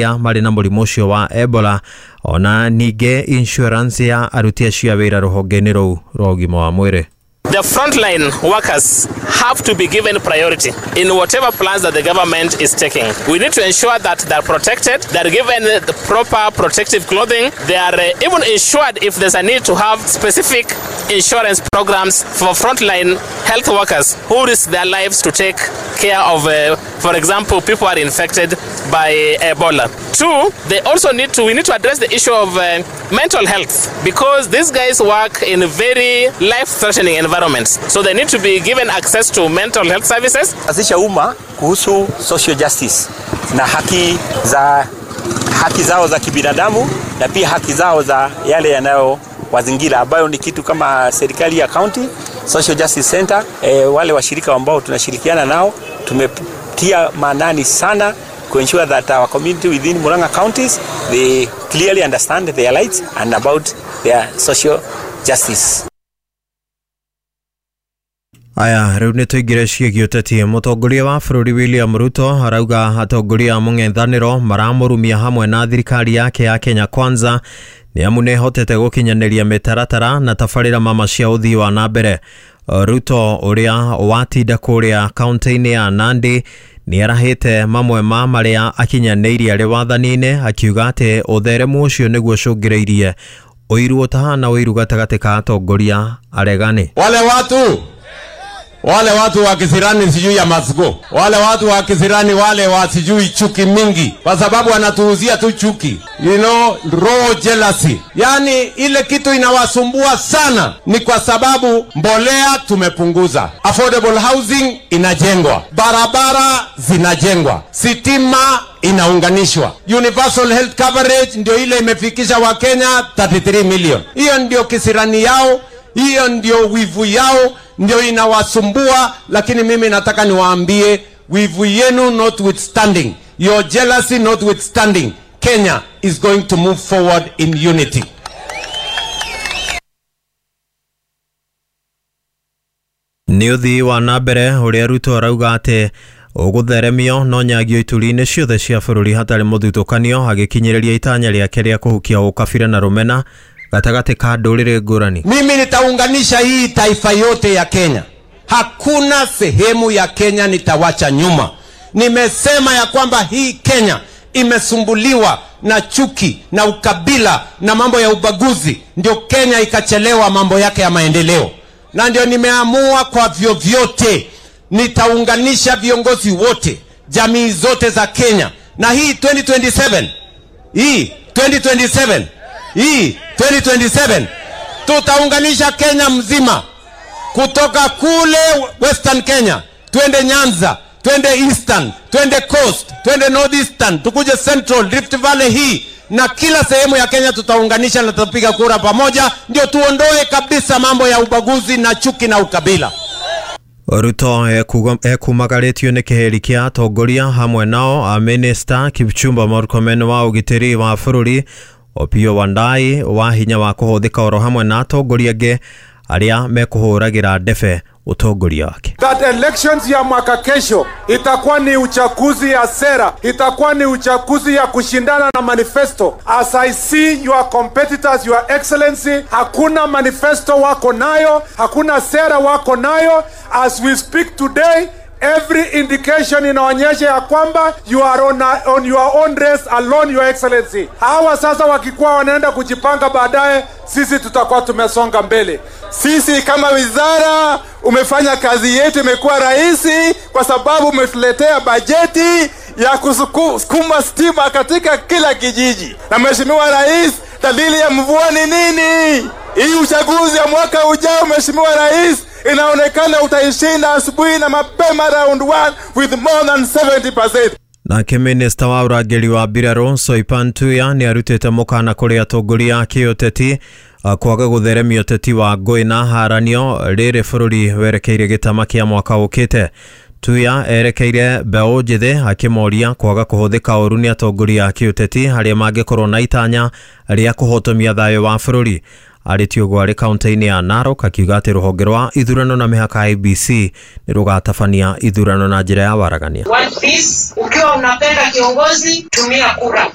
Marĩ na mũrimũ ũcio wa Ebola ona ningĩ insurance ya aruti acio a wĩra rũhonge-inĩ rũu rwa ũgima wa mwĩrĩ. The frontline workers have to be given priority in whatever plans that the government is taking. We need to ensure that they're protected, they're given the proper protective clothing, they are even insured if there's a need to have specific insurance programs for frontline health workers who risk their lives to take care of, for example, people who are infected by Ebola. Two, they also need to, we need to address the issue of mental health, because these guys work in very life-threatening environments. So they need to be given access to mental health services. Azisha umma kuhusu social justice na haki zao za kibinadamu na pia haki zao za yale yanayo wazingira, ambayo ni kitu kama serikali ya county Social Justice Center, wale washirika ambao tunashirikiana nao tumetia maanani sana to ensure that our community within Murang'a counties, they clearly understand their rights and about their social justice. Aya, rĩu nĩ tũingĩre ciĩgiĩ ũteti. Mũtongoria wa bũrũri William Ruto arauga atongoria a mũng'ethanĩro maramũrumia hamwe na thirikari yake ya Kenya Kwanza nĩ amu nĩ ĩhotete gũkinyanĩria mĩtaratara na tabarĩra mama cia ũthii wa na mbere. Ruto ũrĩa watinda kũrĩa kaunti-inĩ ya Nandi nĩ arahĩte mamwe ma marĩa akinyanĩirie arĩ wathani-inĩ, akiuga atĩ ũtheremu ũcio nĩguo ũcũngĩrĩirie ũiru ũtahana ũiru gatagatĩ ka atongoria aregani. Wale watu wa kisirani sijui ya Masgo, wale watu wa kisirani wale wa sijui chuki mingi, kwa sababu wanatuuzia tu chuki, raw jealousy. Yani ile kitu inawasumbua sana ni kwa sababu mbolea tumepunguza, affordable housing inajengwa, barabara zinajengwa, sitima inaunganishwa, universal health coverage ndio ile imefikisha wa Kenya 33 million. Hiyo ndio kisirani yao, hiyo ndio wivu yao, ndio inawasumbua. Lakini mimi nataka niwaambie, wivu yenu notwithstanding, your jealousy notwithstanding, Kenya is going to move forward in unity. Nĩ ũthii wa na mbere ũrĩa Ruto arauga atĩ ũgũtheremio no nyagio ituri-inĩ ciothe cia bũrũri hatarĩ mũthutũkanio, agĩkinyĩrĩria itanya rĩake rĩa kũhukia ũkabira na rũmena gatagatĩ ka ndũrĩrĩ ngũrani. Mimi nitaunganisha hii taifa yote ya Kenya. Hakuna sehemu ya Kenya nitawacha nyuma. Nimesema ya kwamba hii Kenya imesumbuliwa na chuki na ukabila na mambo ya ubaguzi, ndio Kenya ikachelewa mambo yake ya maendeleo. Na ndio nimeamua kwa vyovyote nitaunganisha viongozi wote, jamii zote za Kenya. Na hii 2027, hii 2027, hii 2027 tutaunganisha Kenya mzima, kutoka kule Western Kenya twende Nyanza, twende Eastern, twende Coast, twende Northeastern, tukuje Central, Rift Valley hii na kila sehemu ya Kenya tutaunganisha na tutapiga kura pamoja, ndio tuondoe kabisa mambo ya ubaguzi na chuki na ukabila. Ruto ekumagarĩtio nĩ kĩhĩri kĩa atongoria hamwe nao a Minister Kipchumba Murkomen wa ũgitĩri wa bũrũri, Opiyo Wandayi wa hinya wa kũhũthĩka oro hamwe na atongoria angĩ arĩa mekũhũragĩra ndebe ũtongoria wake. That elections ya mwaka kesho itakuwa ni uchaguzi ya sera, itakuwa ni uchaguzi ya kushindana na manifesto. As I see your competitors, your excellency, hakuna manifesto wako nayo, hakuna sera wako nayo. As we speak today, every indication inaonyesha ya kwamba you are on your own race alone, your excellency. Hawa sasa wakikuwa wanaenda kujipanga baadaye, sisi tutakuwa tumesonga mbele. Sisi kama wizara umefanya kazi yetu imekuwa rahisi kwa sababu umetuletea bajeti ya kusukuma stima katika kila kijiji. Na Mheshimiwa Rais, dalili ya mvua ni nini? Hii uchaguzi ya mwaka ujao, Mheshimiwa Rais, inaonekana utaishinda asubuhi na mapema round 1 with more than 70%. Nake minista wa ũrangĩri wa mbirarũ Soipan Tuya nĩ arutĩte mũkana kũrĩ atongoria a kĩũteti kwaga gũtheremia ũteti wa ngũĩ na haranio rĩrĩ bũrũri werekeire gĩtama kĩa mwaka ũkĩte. Tuya erekeire mbeũ njĩthĩ akĩmoria kwaga kũhũthĩka ũru nĩ atongoria a kĩũteti arĩa mangĩkorwo na itanya rĩa kũhotomia thayũ wa bũrũri. Arĩtie ũguo arĩ kaunti-inĩ ya Narok akiuga atĩ rũhonge rwa ithurano na mĩhaka IEBC nĩ rũgatabania ithurano na njĩra ya waragania. One piece, ukiwa unapenda kiongozi tumia kura.